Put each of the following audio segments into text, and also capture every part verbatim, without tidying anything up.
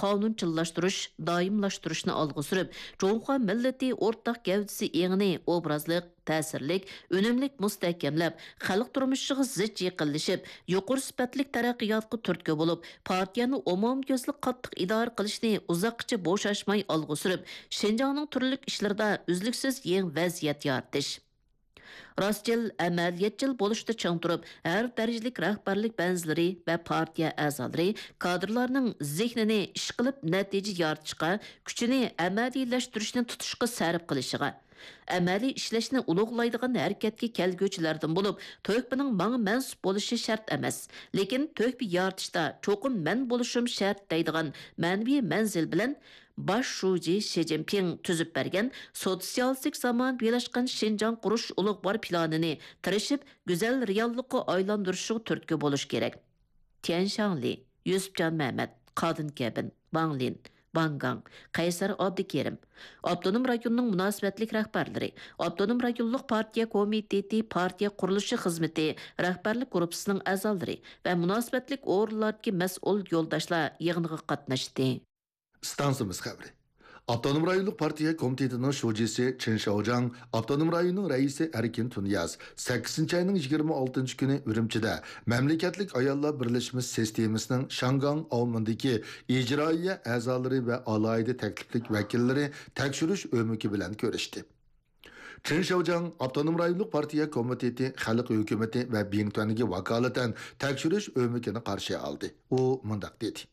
قانۇنچىللاشتۇرۇش، دائىملاشتۇرۇشنى ئالغا سۈرۈپ، جۇڭخۇا مىللىتى ئورتاق گەۋدىسى ئېڭىنى ئوبرازلىق، تەسىرلىك، ئۈنۈملۈك مۇستەھكەملەپ، خەلق تۇرمۇشىغا زىچ يېقىنلىشىپ، يۇقىرى سۈپەتلىك تەرەققىياتقا تۈرتكە بولۇپ، پارتىيەنى ئومۇميۈزلۈك قاتتىق ئىدارە قىلىشنى ئۇزاققىچە بوشاشماي ئالغا سۈرۈپ، شىنجاڭنىڭ تۈرلۈك ئىشلىرىدا ئۈزلۈكسىز يېڭى ۋەزىيەت يارىتىش. راستچىل، ئەمەلىيەتچىل بولۇشتا چىڭ تۇرۇپ، ھەر دەرىجىلىك رەھبەرلىك بەنزىلىرى ۋە پارتىيە ئەزالىرى، كادىرلارنىڭ زېھنىنى ئىشقىلىپ نەتىجە يارىتىشقا، كۈچىنى ئەمەلىيلەشتۈرۈشنى تۇتۇشقا سەرپ قىلىشىغا، ئەمەلىي ئىشلەشنى ئۇلۇغلايدىغان ھەرىكەتكە كەلگۈچىلەردىن بولۇپ، تۆھپىنىڭ ماڭا مەنسۇپ بولۇشى شەرت ئەمەس، لېكىن تۆھپە يارىتىشتا چوقۇم مەن بولۇشۇم شەرت دەيدىغان مەنىۋى مەنزىل بىلەن باش شۇجى شى جىنپىڭ تۈزۈپ بەرگەن سوتسىيالىستىك زامانىۋىلاشقان شىنجاڭ قۇرۇش ئۇلۇغۋار پىلانىنى تىرىشىپ گۈزەل رېئاللىققا ئايلاندۇرۇشىغا تۈرتكە بولۇش كېرەك. تيەن شاڭلى، يۈسۈپجان مەمەت، قادىن كەبىن، ۋاڭ لىن، ۋاڭ گاڭ، قەيسەر ئابدۇكېرىم، ئاپتونوم رايوننىڭ مۇناسىۋەتلىك رەھبەرلىرى، ئاپتونوم رايونلۇق پارتىيە كومىتېتى پارتىيە قۇرۇلۇشى خىزمىتى رەھبەرلىك گۇرۇپپىسىنىڭ ئەزالىرى ۋە مۇناسىۋەتلىك ئورۇنلاردىكى مەسئۇل يولداشلار يىغىنغا قاتناشتى. ئىستانسىمىز خەۋىرى. ئاپتونوم رايونلۇق پارتىيە كومىتېتىنىڭ شۇجىسى چېن شياۋجياڭ، ئاپتونوم رايوننىڭ رەئىسى ئەركىن تۇنىياز سەككىزىنچى ئاينىڭ يىگىرمە ئالتىنچى كۈنى ئۈرۈمچىدە مەملىكەتلىك ئاياللار بىرلەشمىسى سىستېمىسىنىڭ شياڭگاڭ ئاۋمېنىدىكى ئىجرائىيە ئەزالىرى ۋە ئالاھىدە تەكلىپلىك ۋەكىللىرى تەكشۈرۈش ئۆمىكى بىلەن كۆرۈشتى. چېن شياۋجياڭ ئاپتونوم رايونلۇق پارتىيە كومىتېتى خەلق ھۆكۈمىتى ۋە بىڭتۈەنگە ۋاكالىتەن تەكشۈرۈش ئۆمىكىنى قارشى ئالدى. ئۇ مۇنداق دېدى: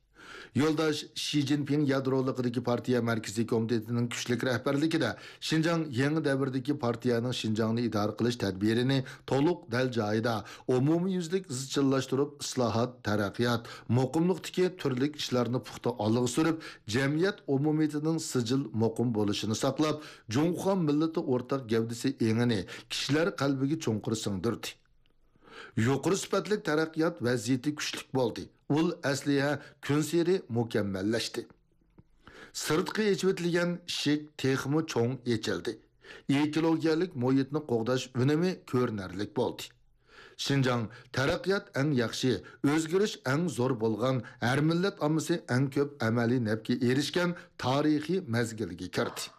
يولداش شى جىنپىڭ يادرولۇقىدىكى پارتىيە مەركىزىي كومىتېتىنىڭ كۈچلۈك رەھبەرلىكىدە شىنجاڭ يېڭى دەۋردىكى پارتىيەنىڭ شىنجاڭنى ئىدارە قىلىش تەدبىرىنى تولۇق دەل جايىدا، ئومۇميۈزلۈك ئىزچىللاشتۇرۇپ، ئىسلاھات، تەرەققىيات، مۇقىملىقتىكى تۈرلۈك ئىشلارنى پۇختا ئالغا سۈرۈپ، جەمئىيەت ئومۇمىيىتىنىڭ سىجىل، مۇقىم بولۇشىنى ساقلاپ، جۇڭخۇا مىللىتى ئورتاق گەۋدىسى ئېڭىنى كىشىلەر قەلبىگە چوڭقۇر سىڭدۈردى. يۇقىرى سۈپەتلىك تەرەققىيات ۋەزىيىتى كۈچلۈك بولدى. ئۇل ئەسلىھە كۈنسېرى مۇكەممەللەشتى. سىرتقا ئېچىۋېتىلگەن ئىشىك تېخىمۇ چوڭ ئېچىلدى. ئېكولوگىيەلىك مۇھىتنى قوغداش ئۈنۈمى كۆرۈنەرلىك بولدى. شىنجاڭ تەرەققىيات ئەڭ ياخشى، ئۆزگىرىش ئەڭ زور بولغان، ھەر مىللەت ئاممىسى ئەڭ كۆپ ئەمەلىي نەپكە ئېرىشكەن تارىخىي مەزگىلگە كىردى.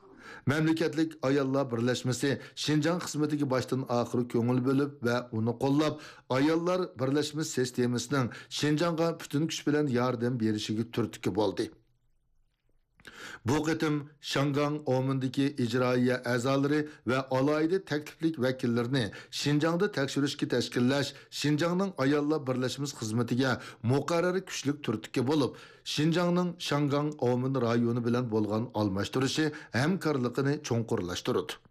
مەملىكەتلىك ئاياللار بىرلەشمىسى شىنجاڭ خىزمىتىگە باشتىن ئاخىر كۆڭۈل بۆلۈپ ۋە ئۇنى قوللاپ، ئاياللار بىرلەشمىسى سىستېمىسىنىڭ شىنجاڭغا پۈتۈن كۈچ بىلەن ياردەم بېرىشىگە تۈرتكە بولدى. بۇ قېتىم شياڭگاڭ ئاۋمېندىكى ئىجرائىيە ئەزالىرى ۋە ئالاھىدە تەكلىپلىك ۋەكىللىرىنى شىنجاڭدا تەكشۈرۈشكە تەشكىللەش شىنجاڭنىڭ ئاياللار بىرلەشمىسى خىزمىتىگە مۇقەررەر كۈچلۈك تۈرتكە بولۇپ، شىنجاڭنىڭ شياڭگاڭ ئاۋمېن رايونى بىلەن بولغان ئالماشتۇرۇشى ھەمكارلىقىنى چوڭقۇرلاشتۇرىدۇ.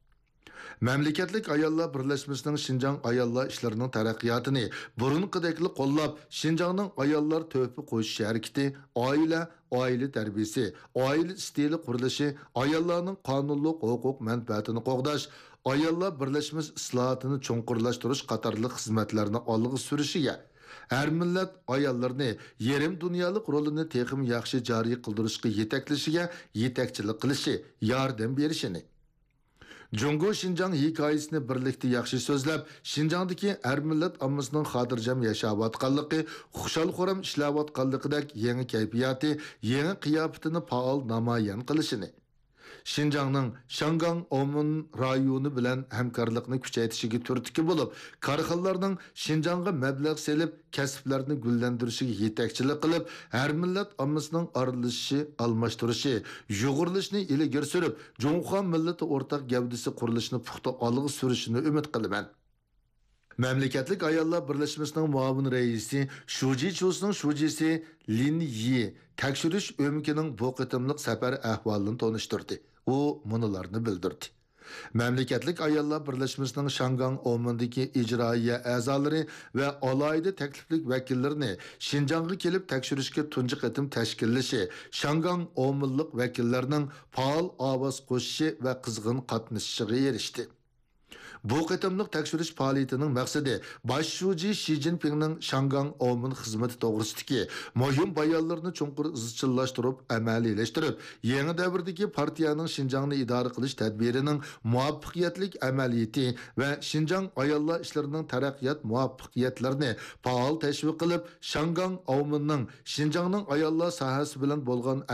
مەملىكەتلىك ئاياللار بىرلەشمىسىنىڭ شىنجاڭ ئاياللار ئىشلىرىنىڭ تەرەققىياتىنى بۇرۇنقىدەكلا قوللاپ، شىنجاڭنىڭ ئاياللار تۆھپە قوشۇش ھەرىكىتى، ئائىلە، ئائىلە تەربىيىسى، ئائىلە ئىستىلى قۇرۇلۇشى، ئاياللارنىڭ قانۇنلۇق ھوقۇق مەنپەئەتىنى قوغداش، ئاياللار بىرلەشمىسى ئىسلاھاتىنى چوڭقۇرلاشتۇرۇش قاتارلىق خىزمەتلەرنى ئالغا سۈرۈشىگە، ھەر مىللەت ئاياللىرىنى يېرىم دۇنيالىق رولىنى تېخىمۇ ياخشى جارى قىلدۇرۇشقا يېتەكلىشىگە يېتەكچىلىك قىلىشى، ياردەم بېرىشىنى، جۇڭگو شىنجاڭ ھېكايىسىنى بىرلىكتە ياخشى سۆزلەپ، شىنجاڭدىكى ھەر مىللەت ئاممىسىنىڭ خاتىرجەم ياشاۋاتقانلىقى، خۇشال-خۇرام ئىشلەۋاتقانلىقىدەك يېڭى كەيپىياتى، يېڭى قىياپىتىنى پائال نامايان قىلىشىنى، شىنجاڭنىڭ شياڭگاڭ ئاۋمېن رايونى بىلەن ھەمكارلىقنى كۈچەيتىشىگە تۈرتكە بولۇپ، كارخانىلارنىڭ شىنجاڭغا مەبلەغ سېلىپ، كەسىپلەرنى گۈللەندۈرۈشىگە يېتەكچىلىك قىلىپ، ھەر مىللەت ئاممىسىنىڭ ئارىلىشىشى، ئالماشتۇرۇشى، يۇغۇرۇلۇشىنى ئىلگىرى سۈرۈپ، جۇڭخۇا مىللىتى ئورتاق گەۋدىسى قۇرۇلۇشىنى پۇختا ئالغا سۈرۈشىنى ئۈمىد قىلىمەن. مەملىكەتلىك ئاياللار بىرلەشمىسىنىڭ مۇئاۋىن رەئىسى شۇجى چۇسىنىڭ شۇجىسى لىن يى تەكشۈرۈش ئۆمىكىنىڭ بۇ قېتىملىق سەپەر ئەھۋالىنى تونۇشتۇردى. ئۇ مۇنۇلارنى بىلدۈردى. مەملىكەتلىك ئاياللار بىرلەشمىسىنىڭ شياڭگاڭ ئاۋمېندىكى ئىجرائىيە ئەزالىرى ۋە ئالاھىدە تەكلىپلىك ۋەكىللىرىنى شىنجاڭغا كېلىپ تەكشۈرۈشكە تۇنجى قېتىم تەشكىللىشى، شياڭگاڭ ئاۋمېنلىق ۋەكىللەرنىڭ پائال ئاۋاز قوشۇشى ۋە قىزغىن قاتنىشىشىغا ئېرىشتى. بۇ قېتىملىق تەكشۈرۈش پائالىيىتىنىڭ مەقسىتى باش شۇجى شى جىنپىڭنىڭ شياڭگاڭ ئاۋمېن خىزمىتى توغرىسىدىكى مۇھىم بايانلىرىنى چوڭقۇر ئىزچىللاشتۇرۇپ ئەمەلىيلەشتۈرۈپ، يېڭى دەۋردىكى پارتىيەنىڭ شىنجاڭنى ئىدارە قىلىش تەدبىرىنىڭ مۇۋەپپەقىيەتلىك ئەمەلىيىتى ۋە شىنجاڭ ئاياللار ئىشلىرىنىڭ تەرەققىيات مۇۋەپپەقىيەتلىرىنى پائال تەشۋىق قىلىپ، شياڭگاڭ ئاۋمېننىڭ شىنجاڭنىڭ ئاياللار ساھەسى بىلەن بولغان